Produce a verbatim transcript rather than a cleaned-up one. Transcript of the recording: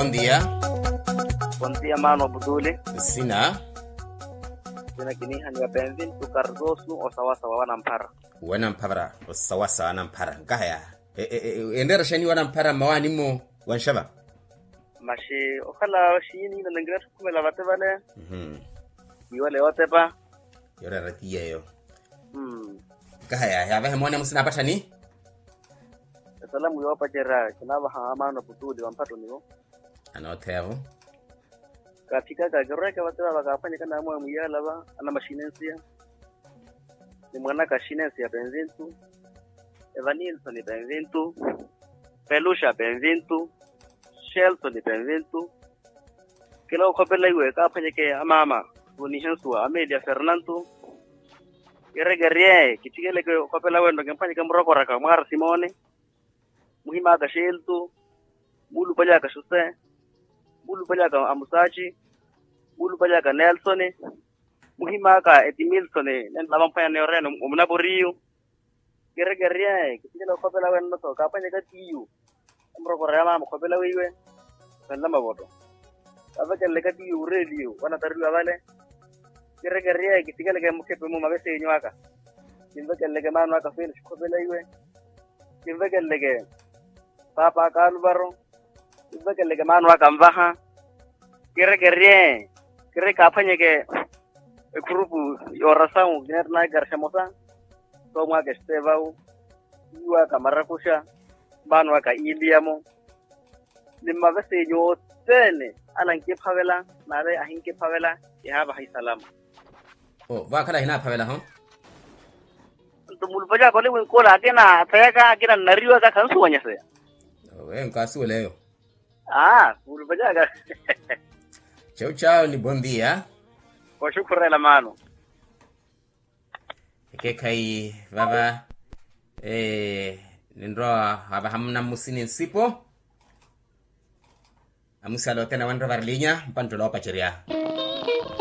Bondia. Bondia maano putuli. Sina. Sina kiniihaniwa penvintu kartosu osawasawa wanamphara. Wanamphara osawasawa wanamphara nkahaya. Enreera xani wanamphara mmawaani-mo? Wanxeva. Maxi okhala xiini nanangira tthukhumeela vate vale. Iwale yootepa. Yoreera ti yeeyo. Nkahaya yaavahe moone amusina apatthani. Esalamu yoopacerya kinaavaha amaano putuli wa mpatoni-wo. Anootheya-vo. Kaaphikaka kirweeke vate vaava kaaphwanyeke naamwawe mwiyaala va anamaxinensiya. Ni mwanaka xinensiya penvintu. Evanilsoni penvintu. Peluxa penvintu. Xelsoni penvintu. Kila okhopela iwe kaaphwanyeke amaama vonihensuwa amelia fernantu. Kirekerye kithikeleke okhopela wento kimphwanyeke murokoraka mwaara simone. Muhim'aka xeltu. Muulupaly'aka xuse. Muulupaly'aka amusaaci. Muulupaly'aka nelsoni. Muhim'aka etimilsoni nenlavamphwanya neeyo reeno omunaporiyu. Kirekerye kithikeleke okhopela wenno-tho kaaphwanyeke tiyu. Emurokora ya maama okhopela weiwe. Sanla mavoto. Kaavekeleleke tiyu ureeliyu wanatariwa vale. Kirekerye kithikeleke mukhepe-mu mavesenyu aka. Kinvekeleleke maano aka felix okhopela iwe. Kinvekeleleke paapa aka aluvaro. Kinvekeleleke maano aka anvaha. Kirekerye kiri kaaphwanyeke ekhurupu. Yoorasawu kineettanaka ekaraxa emosa. Soomwaaka estevawu. Iwaaka marakuxa. Maano aka iiliyamo. Ni mmavesenyu othene ala ankiphavela. Nale ahinkiphavela. Kihaavaha isalama. Vaakhala ahinaphavela-ho. Nto mulupacaka ole winkula akina athayaka akina nnariwaka khansuwanyaseya. Eyo nkaasuwela eyo. Aa mulupacaka. Chau chau ni bondia. Oxukhurela maano. Ekeekhayi vava. Ninrowa wavaha munammusini nsipo. Amusala othene awanrowa varilinya mpanttolo oopacerya.